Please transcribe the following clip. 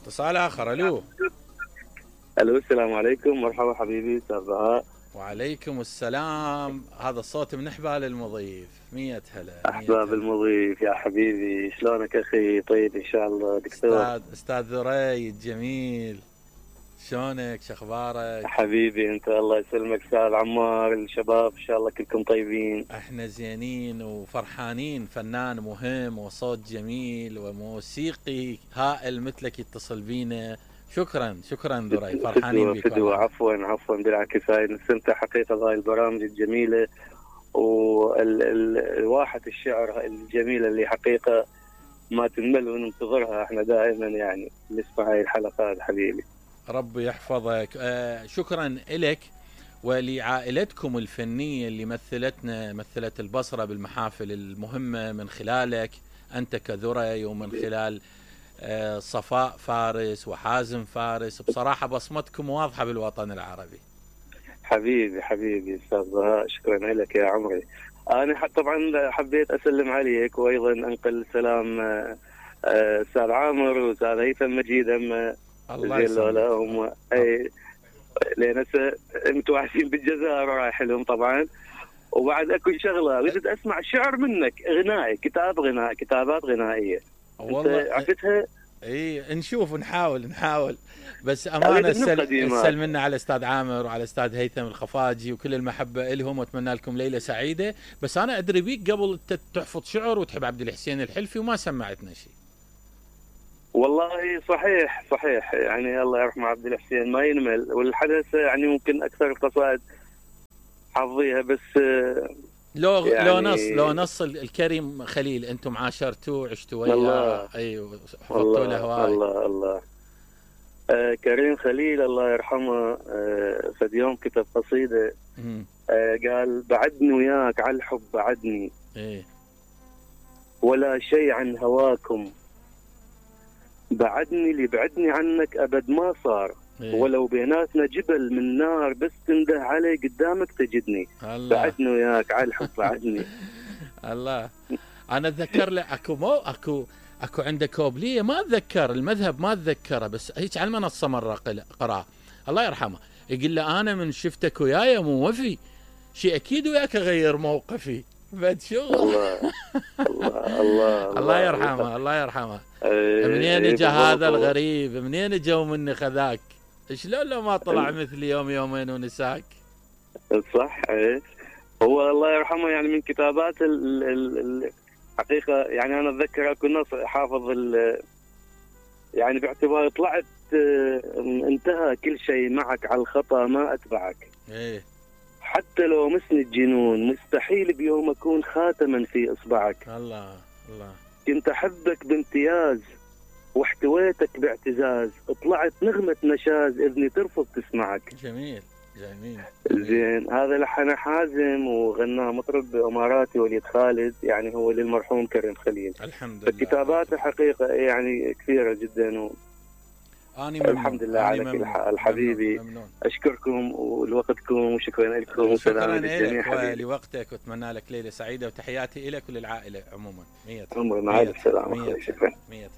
اتصال آخر. ألو. الو السلام عليكم. مرحبا حبيبي استاذ بهاء. وعليكم السلام. هذا الصوت من حبال المضيف. 100 هلا. احباب المضيف يا حبيبي، شلونك اخي؟ طيب ان شاء الله دكتور. استاذ ذري الجميل، شلونك؟ شخبارك حبيبي انت؟ الله يسلمك. استاذ عمار، الشباب ان شاء الله كلكم طيبين؟ احنا زينين وفرحانين. فنان مهم وصوت جميل وموسيقي هائل مثلك يتصل بينا. شكرا ذري، فرحانين بك. عفوا بالعكس، هاي نستمتع حقيقه بهاي البرامج الجميله والواحة الشعر الجميله اللي حقيقه ما تنمل وننتظرها احنا دائما، يعني نسمع هاي الحلقات حبيبي. ربي يحفظك. شكرا لك ولعائلتكم الفنيه اللي مثلت البصره بالمحافل المهمه من خلالك انت كذري، ومن خلال صفاء فارس وحازم فارس. بصراحة بصمتكم واضحة بالوطن العربي. حبيبي استاذ بهاء، شكرا لك يا عمري. انا طبعا حبيت اسلم عليك وايضا انقل سلام استاذ عامر واستاذ هيثم مجيد. الله يسلمك. اي لان هسه متوحشين بالجزائر ورايح لهم طبعا. وبعد اكو شغله اريد اسمع شعر منك، غنائي، كتابات غنائيه. والله عرفتها؟ اي نشوف نحاول بس امانه السل منا على استاذ عامر وعلى استاذ هيثم الخفاجي وكل المحبه لهم، واتمنى لكم ليله سعيده. بس انا ادري بيك قبل تحفظ شعر وتحب عبد الحسين الحلفي وما سمعتنا شيء. والله صحيح يعني الله يرحمه عبد الحسين ما ينمل، والحدث يعني ممكن اكثر القصائد حافظيها، بس يعني لو نص الكريم خليل انتم عاشرتوه عشتوا وياه. ايوه حفظتوا له هواي. الله كريم خليل الله يرحمه فد يوم كتب قصيده قال: بعدني وياك على الحب بعدني ولا شيء عن هواكم، بعدني اللي بعدني عنك ابد ما صار، ولو بيناتنا جبل من نار بس تنده علي قدامك تجدني. بعدني وياك على الحب بعدني. الله. انا اتذكر له اكو عنده كوبليه ما اتذكر المذهب ما اتذكره، بس هيك على المنصه مره قراه الله يرحمه، يقول له انا من شفتك وياي مو وفي شيء اكيد وياك اغير موقفي. بعد شغل. الله يرحمه. منين اجى هذا الغريب؟ منين اجوا مني خذاك؟ شلون لو ما طلع مثلي يوم يومين ونساك؟ صح. هو الله يرحمه يعني من كتابات الحقيقه، يعني انا اتذكر اكو نص حافظ يعني باعتبار طلعت انتهى كل شيء معك على الخطا ما اتبعك. حتى لو مسني الجنون مستحيل بيوم اكون خاتما في اصبعك. الله كنت احبك بامتياز واحتويتك باعتزاز، طلعت نغمة نشاز اذني ترفض تسمعك. جميل. زين. هذا لحن حازم وغناه مطرب اماراتي وليد خالد، يعني هو للمرحوم كريم خليل. الحمد لله. كتاباته حقيقة يعني كثيرة جدا الحمد لله على كل حال حبيبي. ممنون. اشكركم ولوقتكم وشكرا لكم وسلام للجميع ولوقتك، واتمنى لك ليله سعيده، وتحياتي لك وللعائله عموما. 100 مع السلامه. شكرا. 100